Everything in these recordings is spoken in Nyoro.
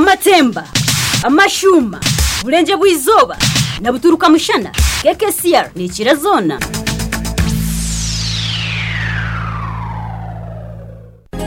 Amatemba, amashuuma, Burengyerwa izooba na buturuka mushana, KKCR neekira zoona.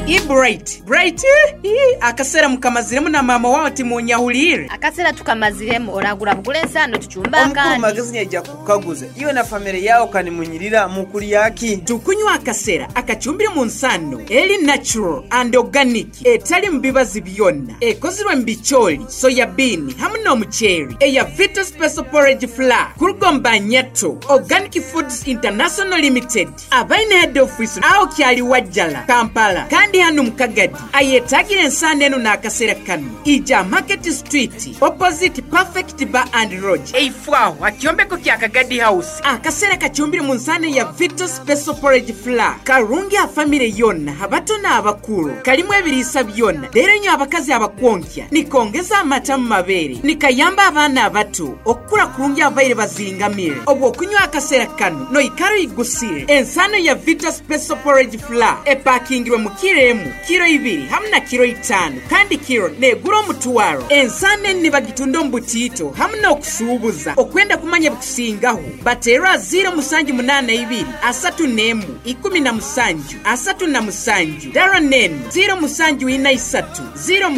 Ii Bright, Bright ii akaseera mukamaziremu na maama waawe timunyahuliire? Akaseera tukamaziremu, oragura bugure ensaano tucumbe Omukuru akandi. Magezi nyaija kukukaguza, iwe na famire yaawe kanimunyirira mukulya ki? Tukunywa akasera akacumbire mu nsaano eri natural and organic etalimu bibazi byona, ekozirwe mu bicooli, soya bean hamu n'omuceeri eya Vita Special Porridge Flour kuruga omu ba Nyato Organic Foods International Limited. Abaine head office agho Kyaliwajjala, Kampala kandi hanu mu Kagadi. Ayetagire ensaano enu n'akasera kanu, ija Market Street opposite Perfect Bar and Lodge eifo agho ha kyombeko kya Kagadi House. Akasera kacumbire mu nsaano eya Vito Special Porridge Flour karungi ha famire yoona, abato n'abakuru. Kalimu ebiriisa byona reero inywe abakazi abakwonkya nikongeza amata mu mabeere, nikayamba abaana abato Okukura kurungi ababaire bazingamire obw'okunywa akasera kanu noikara oigusire. Ensaano ya Vita Special Porridge Flour epakingirwe mu kiro emu, kiro ibiri hamu na kiro itaano kandi kiro negura omutwaro. Ensaano enu nibagitunda omu butiito hamu n'okusuubuza. Okwenda kumanya ebikusingaho bateerwe aha ziiro musanju munaana ibiri asatu n'emu ikumi na musanju asatu na musanju dara n'enu ziiro musanju ina isatu 06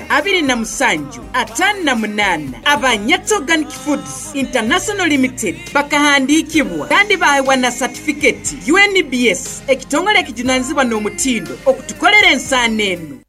27 58. Aba Nyatso Organic Foods International Limited bakahandiikibwa kandi baahebwa na satifiketi UNBS, ekitongole ekijunanizibwa n'omutindo okutukolera ensaano enu.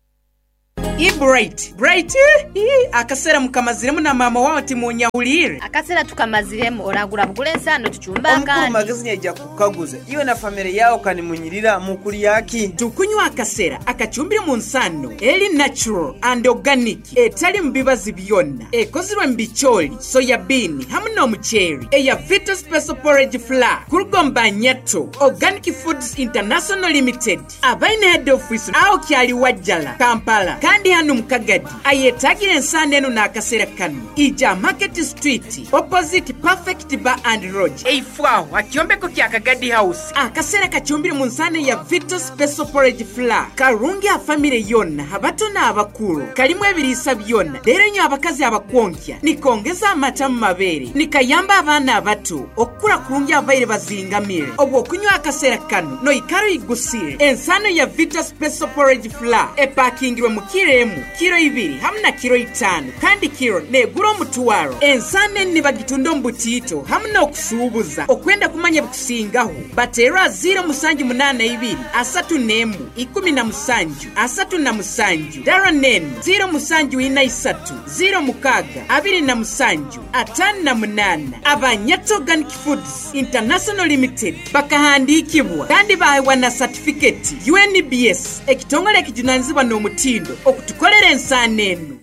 Ii Bright, Bright ii akaseera mukamaziremu na maama waawe timunyahuliire? Akaseera tukamaziremu, oragura bugure ensaano tucumbe Omukuru akandi. Magezi nyaija Kukaguza, Iwe na famire yaawe kanimunyirira mu kulya ki? Tukunywa akasera akacumbire mu nsaano eri natural and organic etalimu bibazi byona, ekozirwe mu bicooli, soya bean hamu n'omuceeri eya Vita Special Porridge Flour kuruga omu ba Nyato Organic Foods International Limited abaine head office agho Kyaliwajjala, Kampala kandi hanu mu Kagadi. Ayetagire ensaano enu n'akasera kanu, ija Market Street opposite Perfect Bar and Lodge. Eifo agho ha kyombeko kya Kagadi House. Akasera kacumbire mu nsaano eya Vito Special Porridge Flour karungi aha famire yoona, abato n'abakuru. Kalimu ebiriisa byona reero inywe abakazi abakwonkya nikongeza amata mu mabeere. Nikayamba abaana abato okukura kurungi ababaire bazingamire. Obw'okunywa akasera kanu noikara oigusire. Ensaano ya Vito Special Porridge Flour epakingirwe mu kiro emu, kiro ibiri hamu na kiro itaano kandi kiro negura omutwaro. Ensaano enu nibagitunda omu butiito hamu n'okusuubuza. Okwenda kumanya ebikusingaho, bateerwe aha 0782 31 17 37, dara n'enu 0743 06 27 58. Aba Nyatso Organic Foods International Limited bakahandiikibwa kandi baahebwa na satifiketi UNBS, ekitongole ekijunanizibwa n'omutindo okutukolera ensaano enu.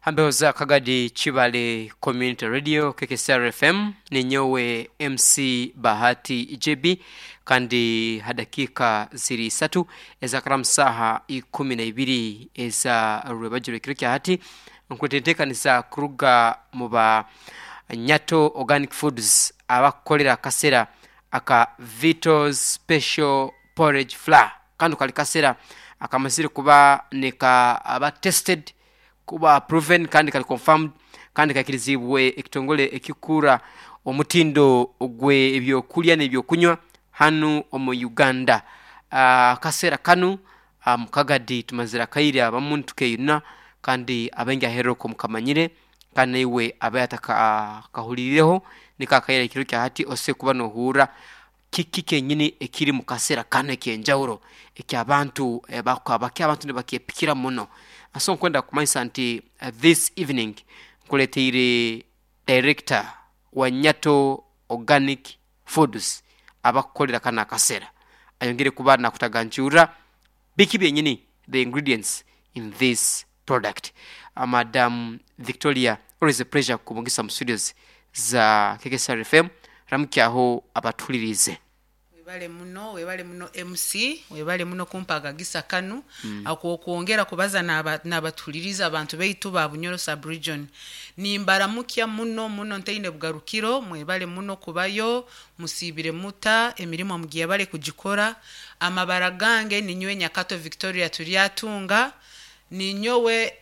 Hambeho za Kagadi Kibale Community Radio KKCR FM ninyowe MC Bahati JB kandi ha dakiika ziri isatu ezakaramu saaha ikumi na ibiri eza rwebagyo rw'ekiro kya hati nkuleeta enteekaniza kuruga mu ba Nyato Organic Foods abakukolera akasera aka Vito's Special Porridge Flour. Kanu kali kasera akamazire kuba nikaba tested, kuba proven kandi kali confirmed kandi kaikiriziibwe ekitongole ekikuura omutindo gw'ebyokulya n'ebyokunywa hanu omu Uganda. Akasera kanu mu Kagadi tumazire akaire abamu nitukeyuna kandi abaingi aheeru okwo mukamanyire kandi naiwe abaire atakakahuliireho niko akaire ekiro kya hati osoboire kuba nohurra Kiki kyenyini ekiri mu kaseera kanu eky'enjawulo eky'abantu baki abantu nibakyepikira muno? So nkwenda kukumanyisa nti this evening nkuleteire Director wa Nyato Organic Foods abakukolera kanu akasera ayongere kuba nakutaganjurra biki byenyini the ingredients in this product. Madam Victoria always a pleasure kukubungisa mu studios za KKSR FM ramukyaho abatuhuliriize. Webale muno, webale muno MC, webale muno kumpa akagisa kanu ak'okwongera kubaza n'abatuhuliriize abantu baitu ba Bunyoro Sub Region. Nimbaramukya muno muno ntaine bugarukiro, mwebale muno kubayo, musiibire muta, emirimo mugyebale kugikora. Amabara gange ninyowe Nyakato Victoria Turyatunga. Ninyowe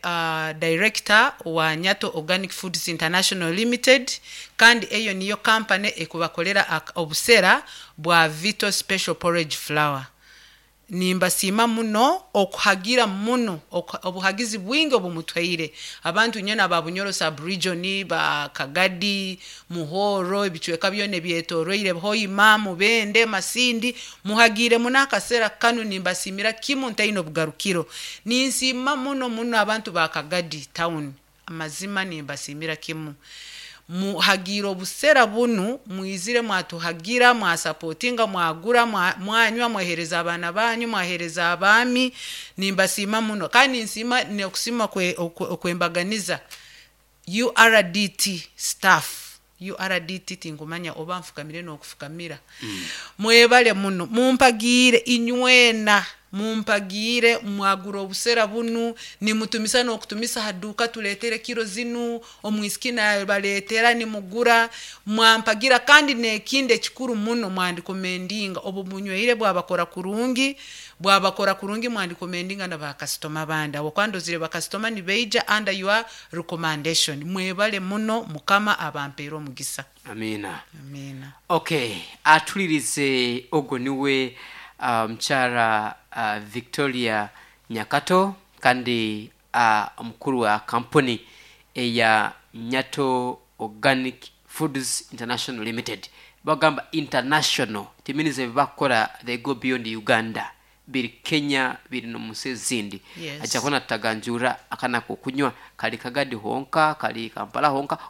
director wa Nyato Organic Foods International Limited, kandi eyo niyo kampani ekubakolera obusera bwa Vito Special Porridge Flour. Nimbasiima muno okuhagira muno, obuhagizi bwingi obumutwaire abantu nyena aba Bunyoro sub-region, ba Kagadi, Muhoro, ebicweka byona ebyetoroire Hoima, Mubende, Masindi. Muhagiire muno akasera kanu, nimbasiimira kimu ntaine obugarukiro. Ninsiima muno muno abantu ba Kagadi town, amazima nimbasiimira kimu. Muhagiire obusera bunu, mwizire mwatuhagira, mwasapotinga, mwagura, mwanywa, mwahereza abaana banyu, mwahereza abaami. Nimbasiima muno, kandi ninsiima n'okusiima okwembaganiza URDT staff. URDT tinkumanya oba nfukamire n'okufukamira. Mwebale muno, mumpagiire inywena, mumpagiire, mwagura obusera bunu, nimutumisa n'okutumisa ha duuka, tuletere kiro zinu, omwisiki nabaleetera, nimugura, mwampagira. Kandi n'ekindi ekikuru muno, mwandikommendinga obu munywire bwabakora kurungi, bwabakora kurungi, mwandikommendinga na bakasitoma abandi, habwokuba ndozire bakasitoma nibaija under your recommendation. Mwebale muno, Mukama abampeere omugisa. Amiina. Amiina. Okay, atulirize ogwo niwe mukyara Victoria Nyakato, kandi omukuru wa kampuni eya Nyato Organic Foods International Limited. Bagamba international timinize ebibakukora, they go beyond Uganda, biri Kenya, biri nomunsi ezindi. Yes. Ajja kuba nataganjura akana kokunywa kali Kagadi honka, kali Kampala honka.